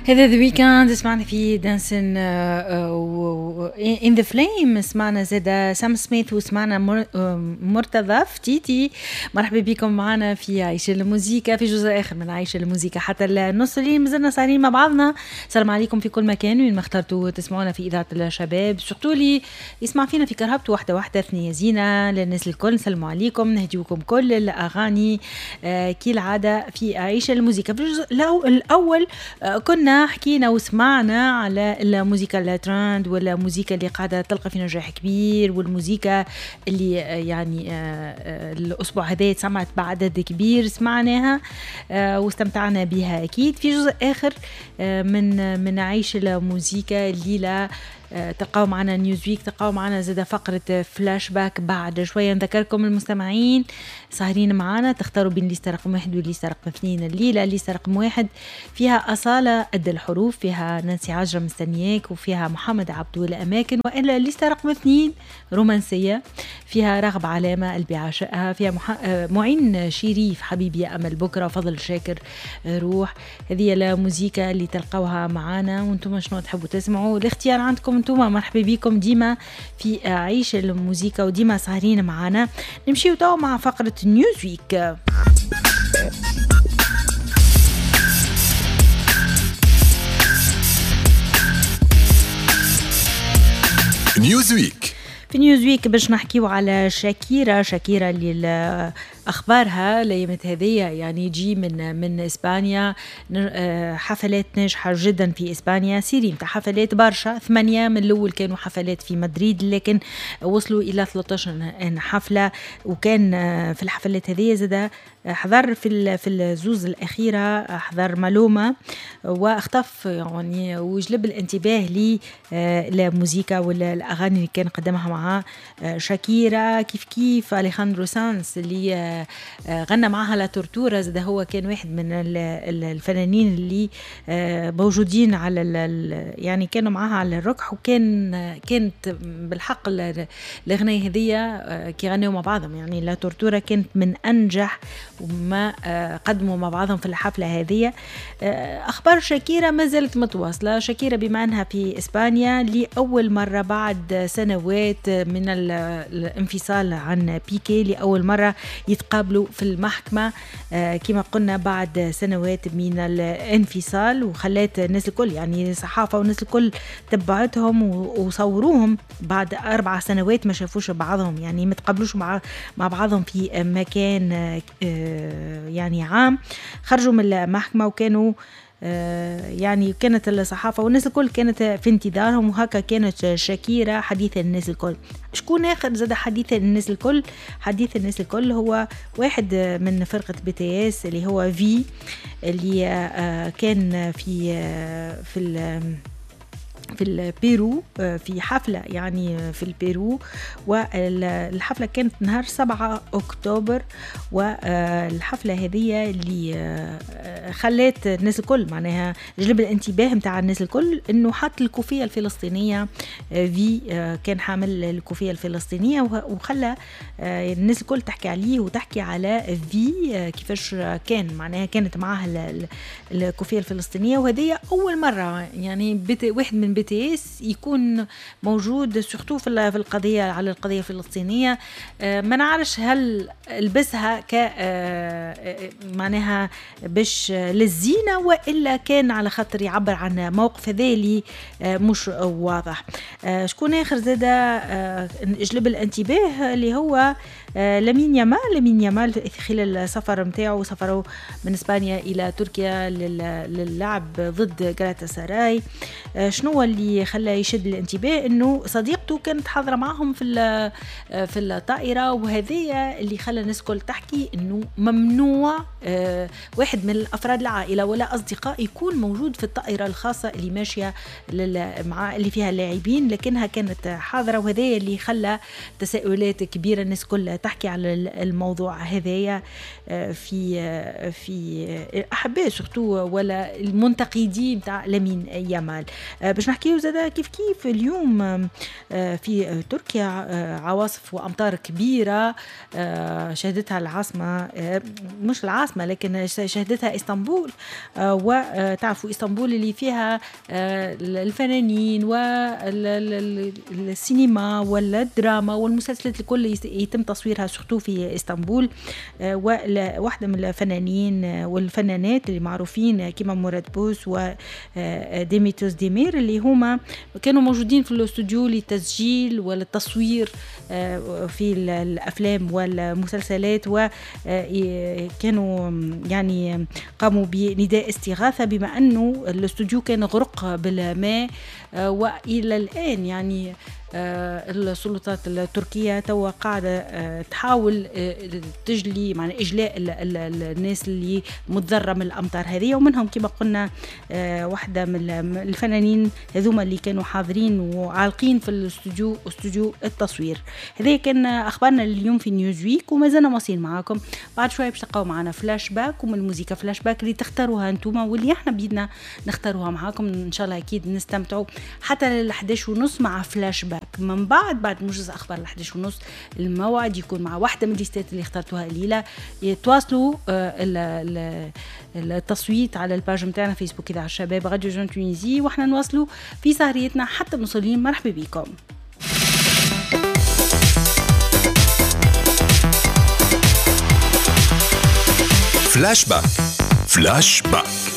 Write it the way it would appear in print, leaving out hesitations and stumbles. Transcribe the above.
هذا The Weeknd سمعنا فيه Dancing in the Flames، سمعنا زادا سام سميث وسمعنا مرتضى فتيتي. مرحبا بكم معنا في عيش الموزيكا في جزء اخر من عيش الموزيكا حتى النص اللي مازلنا سهرين مع بعضنا. السلام عليكم في كل مكان وين ما اخترتوا تسمعونا في اذاعة الشباب، surtout اللي يسمع فينا في كرهبته واحدة واحدة ثنيه زينة للناس الكل. نسلموا عليكم، نهديوكم كل الاغاني كالعادة في عيش الموزيكا. في الجزء الاول كنا حكينا وسمعنا على الموسيقى الترند والموسيقى اللي قاعدة تلقى في نجاح كبير، والموسيقى اللي يعني الأسبوع هذا سمعت بعدد كبير سمعناها واستمتعنا بها أكيد. في جزء آخر من عيش الموسيقى الليلة تلقاو معنا Newsweek، تلقاو معنا زاد فقرة فلاش باك بعد شوية. نذكركم المستمعين سهرين معنا تختاروا بين ليستة رقم 1 وليستة رقم 2 الليلة. ليستة رقم 1 فيها أصالة قد الحروف، فيها نانسي عجرم مستنياك، وفيها محمد عبدو الأماكن. وإلا ليستة رقم 2 رومانسية فيها رغب علامة قلبي عاشقها، فيها معين شريف حبيبي يا أمل بكرة، فضل شاكر روح. هذه الموسيقى اللي تلقاوها معنا، وانتم شنو تحبوا تسمعوا الاختيار عندكم انتم. مرحبا بكم ديما في عيش الموسيقى وديما سهرين معنا. نمشيو تو مع فقرة Newsweek. Newsweek. في Newsweek باش نحكيو على شاكيرا. شاكيرا اللي اخبارها الايامات هذه يعني تجي من اسبانيا، حفلات ناجحة جدا في اسبانيا، série نتاع حفلات برشا، 8 من الاول كانوا حفلات في مدريد لكن وصلوا الى 13 حفلة. وكان في الحفلات هذه زاد حضر في الزوز الاخيرة حضر مالوما واختف يعني وجلب الانتباه للموسيقى والاغاني اللي كان قدمها مع شاكيرا. كيف كيف اليخاندرو سانس اللي غنى معها La Tortura، زاد هو كان واحد من الفنانين اللي موجودين على يعني كانوا معها على الركح، وكان كانت بالحق الاغنية هذية كي غنوا مع بعضهم يعني La Tortura كانت من انجح وما قدموا مع بعضهم في الحفلة هذه. اخبار شاكيرا ما زالت متواصلة. شاكيرا بما انها في اسبانيا لاول مرة بعد سنوات من الانفصال عن بيكي، لاول مرة يتقابلوا في المحكمة كما قلنا بعد سنوات من الانفصال، وخلات الناس الكل يعني الصحافة والناس الكل تبعتهم وصوروهم بعد 4 سنوات ما شافوش بعضهم، يعني ما تقابلوش مع بعضهم في مكان يعني عام. خرجوا من المحكمة وكانوا يعني كانت الصحافة والناس الكل كانت في انتظارهم، وهكا كانت شاكيرا حديث الناس الكل. شكون آخر زاد حديث الناس الكل؟ حديث الناس الكل هو واحد من فرقة BTS اللي هو في اللي كان في في في البيرو في حفلة يعني في البيرو، والحفلة كانت نهار 7 أكتوبر. والحفلة هذه اللي خلت الناس الكل معناها جلب الانتباه متاع الناس الكل انه حط الكوفية الفلسطينية، في كان حامل الكوفية الفلسطينية، وخلى الناس الكل تحكي عليه وتحكي على في كيفاش كان معناها كانت معاه الكوفية الفلسطينية. وهذه أول مرة يعني واحد من BTS يكون موجود surtout في القضية على القضية الفلسطينية. ما نعرفش هل لبسها ك معناها باش للزينة والا كان على خاطر يعبر عن موقف هذا اللي مش واضح. شكون اخر زاد جلب الانتباه اللي هو لامين يامال. لامين يامال خلال السفر نتاعو سفروا من اسبانيا الى تركيا للعب ضد غالاتا سراي. شنو اللي خلى يشد الانتباه؟ انه صديقته كانت حاضره معهم في الطائرة، وهذه اللي خلى الناس الكل تحكي انه ممنوع واحد من الافراد العائلة ولا اصدقاء يكون موجود في الطائرة الخاصة اللي ماشية مع اللي فيها اللاعبين، لكنها كانت حاضره، وهذا اللي خلى تساؤلات كبيرة الناس الكل تحكي على الموضوع هذايا في في احباء surtout ولا المنتقدين تاع لامين يامال. باش نحكيو زادا كيف كيف اليوم في تركيا عواصف وأمطار كبيرة شهدتها العاصمة، مش العاصمة لكن شهدتها اسطنبول، وتعرفوا اسطنبول اللي فيها الفنانين والسينما والدراما والمسلسلات الكل يتم تصويرها surtout في اسطنبول. وواحدة من الفنانين والفنانات اللي معروفين كما مراد بوس وديميتوس ديمير اللي هما كانوا موجودين في الاستوديو للتسجيل والتصوير في الأفلام والمسلسلات، وكانوا يعني قاموا بنداء استغاثة بما أنه الاستوديو كان غرق بالماء. وإلى الآن يعني السلطات التركية توا قاعدة تحاول تجلي معنى إجلاء الناس اللي متضررة من الأمطار هذه، ومنهم كما قلنا واحدة من الفنانين هذوما اللي كانوا حاضرين وعالقين في الاستوديو، استوديو التصوير. هذا كان أخبارنا اليوم في نيوز ويك، وما زلنا واصلين معاكم بعد شوية باش تلقاو معنا فلاش باك، ومن الموسيقى فلاش باك اللي تختاروها انتوما واللي احنا بيدنا نختاروها معاكم. إن شاء الله أكيد نستمتعوا حتى لل 11:30 مع فلاش باك. من بعد موجز اخبار 11:30 الموعد يكون مع واحدة من الليستات اللي اخترتوها الليلة. يتواصلوا التصويت على ال page نتاعنا فيسبوك اذاعة الشباب راديو Jeune Tunisie، واحنا نواصلوا في سهريتنا حتى نوصلين. مرحبا بكم. فلاش باك، فلاش باك.